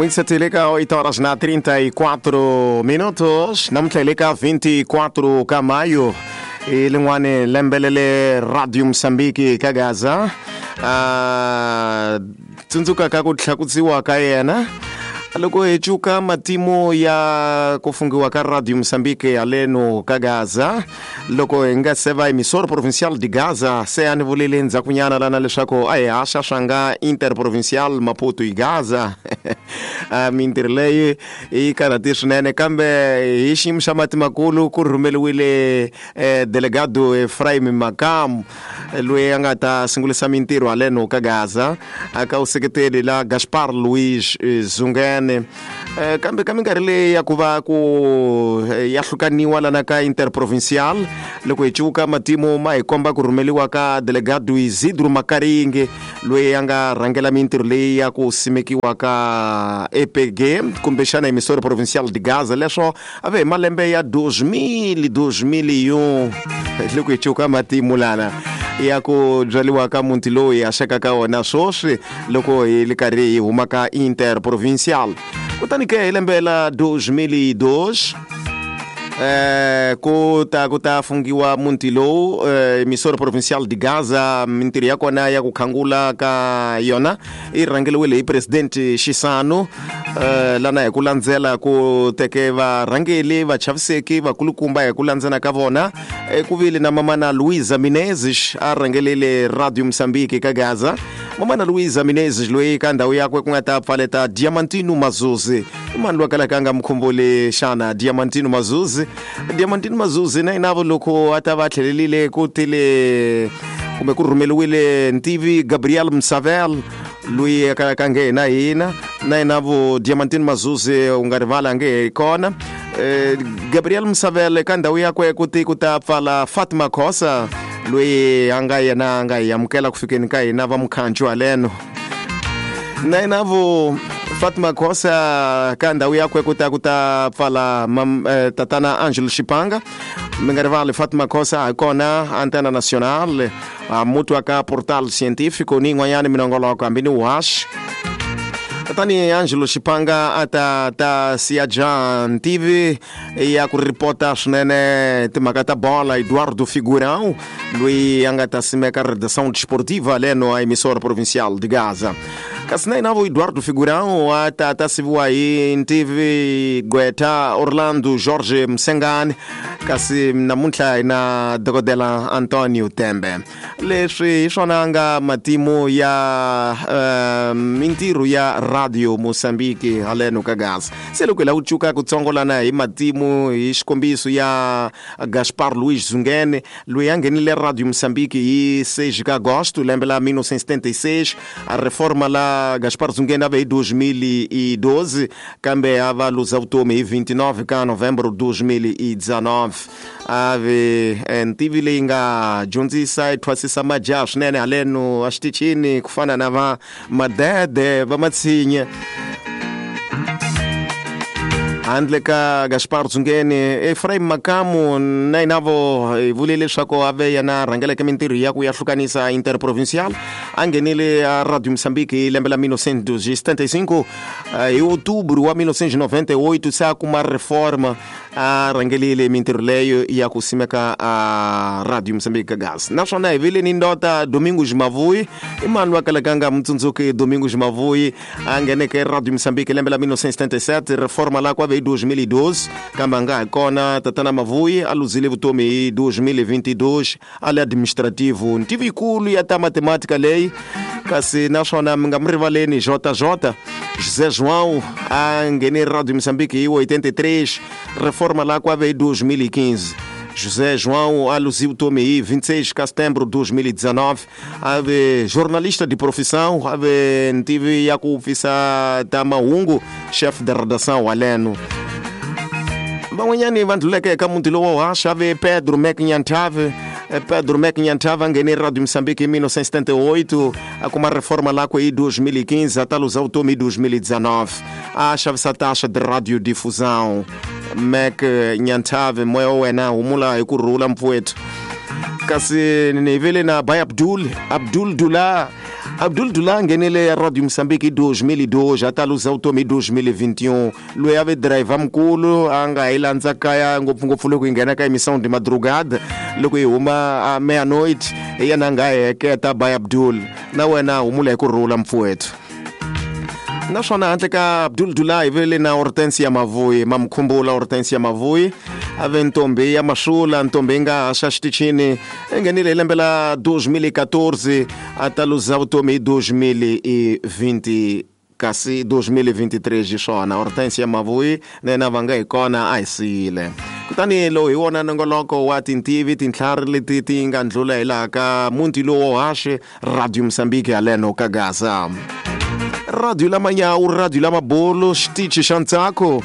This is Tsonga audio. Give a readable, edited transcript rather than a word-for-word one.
N'wingiseti le ka 8 horas na 34 minutos namuntlha hi le ka 24 ka mayo i lin'wani lembe lele Radio Mozambique ka Gaza a tsundzuka ka ku tlhakutsiwa ka yena loko hi cuka matimu ya ku fungiwa ka Radio Mozambique haleno ka Gaza. Loko hi nga se va Emissora Provincial de Gaza, se a ni vulile ndzhakunyana lana leswaku a hi haxa swa nga Interprovincial Maputo hi Gaza. Mintirho leyi yi karhati swinene, kambe hi xiyimo xa mati makulu ku rhumeliwile delegado Efraim Makamu loyi a nga ta sungulisa mintirho haleno ka Gaza ka vuseketeli la Gaspar Luiz Zungene. Kambe ka minkarhi leyi ya ku va ku ya hlukaniwa lana ka Interprovincial, loko hi cuka matimu ma hi komba ku rhumeliwa ka delegado Isidro Makaringe loyi a nga rhangela mintirho leyi ya ku simekiwa ka EPG kumbexana Emissora Provincial de Gaza. Leswo a ve hi malembe ya 2000 2001 loko hi cuka matimu lana ya ku byariwa ka muti lowu hi haxaka ka wona swoswi loko hi li karhi hi huma ka Interprovincial. Kutani ke hi lembe la 2002 ku ta fungiwa muti lowu Emissora Provincial de Gaza. Mintirho ya kona ya ku khangula ka yona yi rhangeliwile hi President Xisano lana hi ku landzela ku teke varhangeli vachaviseki vakulukumba hi ku landzela ka vona. Ku vile na mamana Luisa Menezes a rhangelile Radio Mozambique ka Gaza. Mamana Luisa Menezes loyi ka ndhawu yakwe ku nga ta pfaleta Diamantino Mazuzi. I mani loyi a kalaka a nga mi khumbuli xana Diamantino Mazuzi? Diamantino Mazuzi na yena loko a ta va tlhelelile ku tile kumbe ku rhumeliwile ntivi Gabriel Msavel loyi a kalaka a nge hina hina na yena vo Diamantino Mazuzi u nga rivala a nge hi kona. Gabriel Msavel ka ndhawu yakwe ku ti ku ta pfala Fatima Khosa loyi a nga yena a nga hi amukela ku fikeni ka hina va mukhancu haleno. Na yena vo Fatima Khosa ka ndhawu yakwe ku ta ku ta pfala tatana Angelo Xipanga. Mi nga rivali Fatima Khosa hi kona Antena Nacional a muti wa ka Portal Científico ni yin'wanyana minongoloko hambi ni wuhaxi. Tatani Angelo Xipanga a ta ta siya Jan TV ya ku ripota swinene timhaka ta bola. Eduardo Figurão loyi a nga ta simeka Redação Desportiva leno a Emissora Provincial de Gaza. Kasi na yena vo Eduardo Figurão a ta ta siviwa hi ntivi gqwetha Orlando Jorge Msengani. Kasi namuntlha hi na dokodela Antonio Tembe. Leswi hi swona nga matimu ya mintirho ya Radio Mozambique haleno ka Gaza. Se loko hi lava ku cuka ku tsongolana hi matimu hi xikombiso ya Gaspar Luiz Zungene loyi a nghenile Radio Mozambique hi 6 ka agosto lembe la 1976. A reforma la Gaspar Zungene a ve hi 2012 kambe a va luza vutomi hi 29 ka novembro 2019. A ve ntivi leyi nga dyondzisa yi thwasisa majaha swinene haleno a xitichini ku fana na va Madede va Matshinye. Handle ka Gaspar Zungene, Efraim Makamu na yena vo hi vule leswaku a ve yena rhangeleke mintirho ya ku ya hlukanisa Interprovincial. A nghenile a Radio Mozambique hi lembe la 1975 hi outubro wa 1998 se a kuma reforma a rhangelile mintirho leyo ya ku simeka a Radio Mozambique ka Gaza. Naswona hi vile ni ndota Domingos Mavuyi. I mani loyi a kalaka a nga mutsundzuki Domingos Mavuyi a ngheneke Radio Mozambique lembe la 1977, reforma la ku a ve hi 2012 kambe a nga ha kona. Tatana Mavuyi a luzile vutomi hi 2022 a le administrativo ntivi yikulu ya ta matematika leyi. Kasi naswona mi nga mi rivaleni Jota Jota José João a nghene Radio Mozambique hi 83, reforma la ku a ve hi 2015. José João a luzi vutomi hi 26 ka setembro 2019. A ve jornalista de profissão, a ve ntivi ya ku pfisa ta mahungu, chef de redação haleno. Van'wanyani va ndluleke eka muti lowo haxa ve Pedro Mac Nyanthave. Pedro Mac Nyanthave a nghene Radio Mozambique hi 1978, a kuma reforma lakwe hi 2015, a ta luza vutomi hi 2019. A xavisa taxa de radiodifusão. Mac Nyanthave, moya wa wena humula hi ku rhula mpfuwetu. Kasi ni vile na Bay Abdul, Abdul Dula Abdul Dula a nghenele ya Radio Mozambique hi 2002 a ta luza vutomi hi 2021. Loyi a ve driver mukulu a nga hi landza kaya ngopfungopfu loko hi nghena ka emissão de madrugada loko hi huma a meia-noite hi yena a nga heketa by Abdul. Na wena humula hi ku rhula mfuwethu. Naswona handle ka Abdul Dula hi vele na Hortensia Mavuyi, mamkhumbula Hortensia Mavuyi a ve ntombi ya Masula, ntombi yi nga haxa xitichini i nghenile hi lembe la 2014 a ta luza vutomi hi 2020 kasi 2023 xiswona Hortensia Mavuyi na yena va nga hi kona a hi siyile. Kutani lowu hi wona nongoloko wa tintivi tintlhari leti ti nga ndlula hi laha ka muti lowo haxe Radio Mozambique haleno ka Gaza. Radio la manyawu, radio la mabolo, xitichi xa ntsako.